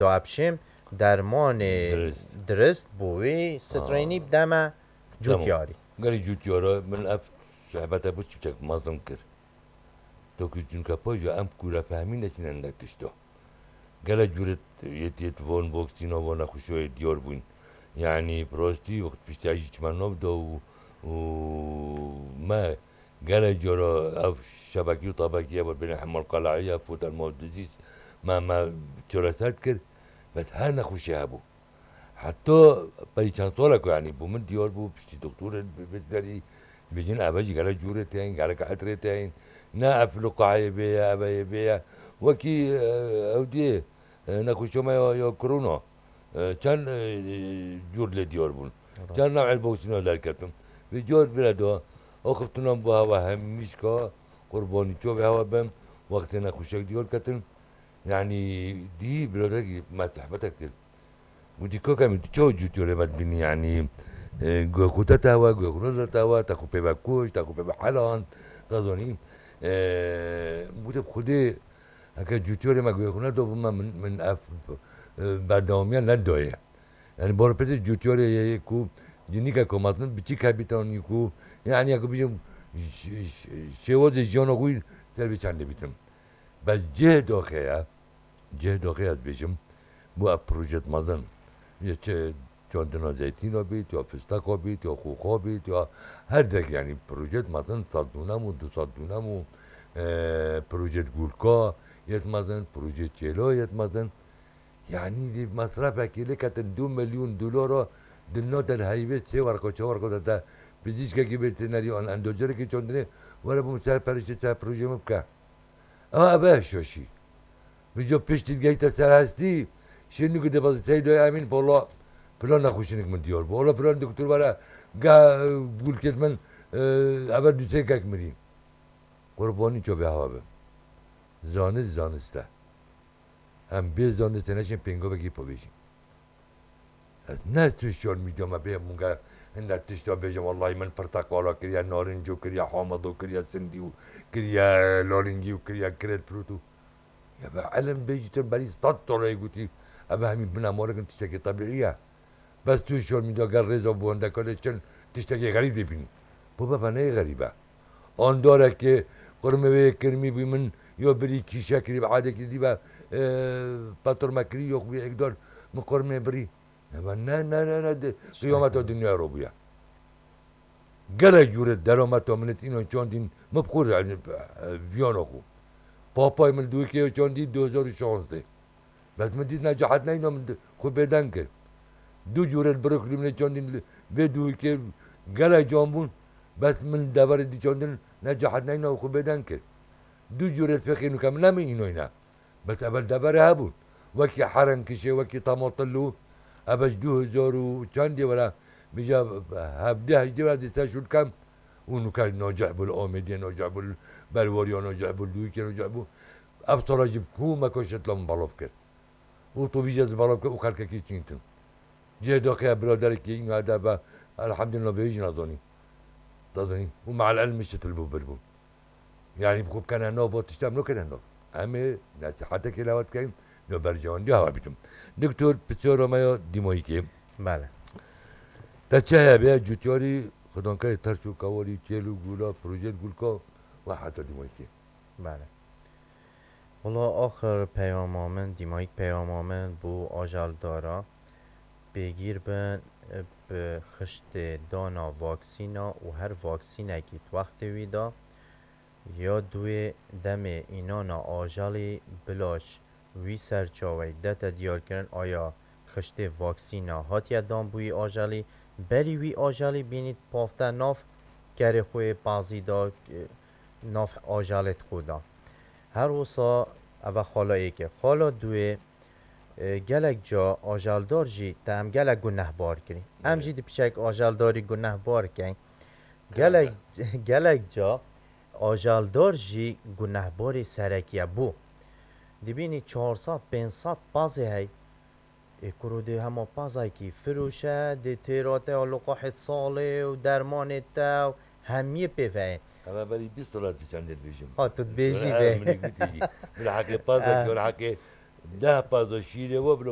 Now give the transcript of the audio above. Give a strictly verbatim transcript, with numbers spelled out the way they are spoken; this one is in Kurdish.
da epşêm dermanê Dirist. dirist bo wê streynî Ha. bideme Tamam. cûtyarî. Gelî cûtyara min ev sohbete bi çiçek mezin kir. Dokuz çunka paja em kûre fehmî neçine ne tişta. Gele cûret yet yet von voksîna von nexweşiyê diyar bûn. Yani prosti wextî piştî jî çime nav da û, û me gele cara ev şebekî û tabekî ev bêne hemal qelayiye fotel ma dizîs me, me çareser kir. Bes her nexweşî hebû. Heta berî çend salek yani bû min diyar bû, piştî doktorê veterinarî dibêjin, eve jî gelek cûrê tên, gelek etrê tên. Ne ev liqahê vê ye, eve yê vê ye. Wekî, e, ew diyê, e, nexweşiya me ya, ya korona, e, çend, e, cûr lê diyar bûn. Rast. Çend newê vaksîna derketin. Vê car vire de axiftinan bo hewa hemîşka qurbanî çavê hewa bim, wextê nexweşek diyar ketin. Yani dî biraderekî me sohbetek kir. Gotî, kaka min, tu çawa cûtiyarê me dibînî, yanî, e, guhê xwe te tewa, guhê xwe nade tewa, te xwe pê ve kuşt, te xwe pê ve heland, te zanî. E, gotê, bi Xwedê, heke cûtiyarê me guhê xwe nedabû me, min, min ev, e, berdewamiya nedaye. Yani, bor pêtê cûtiyarê ye, ye ku cinîke ku mezin biçîk hebîtan, yî ku, yani, ya ku bijim, ş-, ş-, şêwazê jiyana xwe ser vê çendê bîtin. Bes cih doxê ye, cih doxê ez dibêjim, bo ev projet mezin. Ya çi çandina zeytîna bît, ya fisteqa bît, ya xoxa bît, ya her dek, yanî projet mezin, sed dûnem û du sed dûnem û, e, projet gulka yet mezin, projet çêla yet mezin. Yanî di mesrefekê lê ketin du milyon dolara di nate li heyvê çê werqo, çe werqo de te pizîşkekî veterinarî an endocerekî çandinê were bo min ser periştê ser projê min bike. Ew eve şoşî. Vîca piştî gehîte ser hestî, şêrnûkê dibeze tey doyê Emîn, pola filan nexweşinik min diyar bû. Ola filan doktor were, ga gulkêt min, e, eve dûsêkek mirî. Qurbanî çavê hewa bim. Zanist, zanist e. Em bê zanistê neşên pêngavekî bibêjin. Ez ne sosyal medya me bê munge hinde tişta bêjim, wellahî min pirteqala kiriye, narinco kiriye, hamado kiriye, sindî û kiriye, lalingî û kiriye, kiret pirût û. Ya be ilim bêjîtin berî sed sala yê gotî, ev hemî bina morikin tiştekî tebîî ye. Bes tu şor min da gel rêza bo wendeka de çend tiştekê xerîb dê bînî. Bu bebe neyê xerîb e. Andarekê qurmê wê yê kirmî bû min yo birî kîşe kirî bi adekî dî ve, e, petor me kirî yok bî ekdar min qurmê birî. Ne be, ne, ne, ne, ne, de, qiyameta dinyaya ro bûye. Gelek cûre derameta min înan çandîn, min bi xwe re, e, viyana xwe. Papayê min li Dûrkê çandî du hezar û şazdeh. Bes min dît ne cahet neyna min xwe bêdeng kir. Du cûre li Brooklyn min çandîn li vê Dûrkê gelek can bûn. Bes min deverê dî çandin ne cahet neyna xwe bêdeng kir. Du cûre fêqê nûke min ne min înoyne. Bes evel deverê hebûn. Wekî herenkişê, wekî tematillo, eve ji du hezar û çendê were, bîja hevdeh hejdê were dê ser şûl kem û nûke nacih bû li Amêdiyê, nacih bû li Berwariya, nacih bû li Dûrkê, nacih bû. Ev sala jî bi ku me koşetla min belav kir. Û tu vî jê ez belav kir û xelkekî çîntin. Cihê doxê biraderekî îna de be, elhamdülillah vê jî nazanî. Dazanî. Û me'el ilm şitil bû bir bû. Yani bi xwe bikene nav, va tişt em nakene nav. Em ê nesihetekê li hewa dikeyin, no berjewendiya hewa bikim. Doktor, pisyara me ya dîmayîkê. Bele. Te çi heye bê cûtyarî, xidankerê terç û kewarî, çêl û gula, projet gulka ve heta dîmayîkê. Bele. Wela axir peyama min, dîmayîk peyama min bo ajaldara, pêgîr bin bi xiştê dana vaksîna û her vaksînekî di wextê wî de ya duê demê înana ajalî bila ji wî serçaweyî dete diyarkirin, aya xiştê vaksîna hatiye dan bo wî ajalî, berî wî ajalî bînî pavte nav kerê xwe yê pazî de, nav ajalê xwe de. Her wisa eve xala êk e. Xala duê, e, gelek ca ajaldar jî te em gelek gunehbar kirî. Em Evet. jî dipiçek ajaldarî gunehbar keyn. Gelek, gelek ca ajaldar jî gunehbarê serekî ye. Bo dibînî çar sed pênc sed pazê hey. Ê kuro dê hema pazayekî firoşe, dê têra te ya liqahê salê û dermanê te û hemiyê pê ve ye. Eve berî bîst sala tu çendê dibêjim. Ha, tu dibêjî Eve vê. Min gotî jî. Min heqê pazek, Ah. Min heqê Deh paza şîrê we bile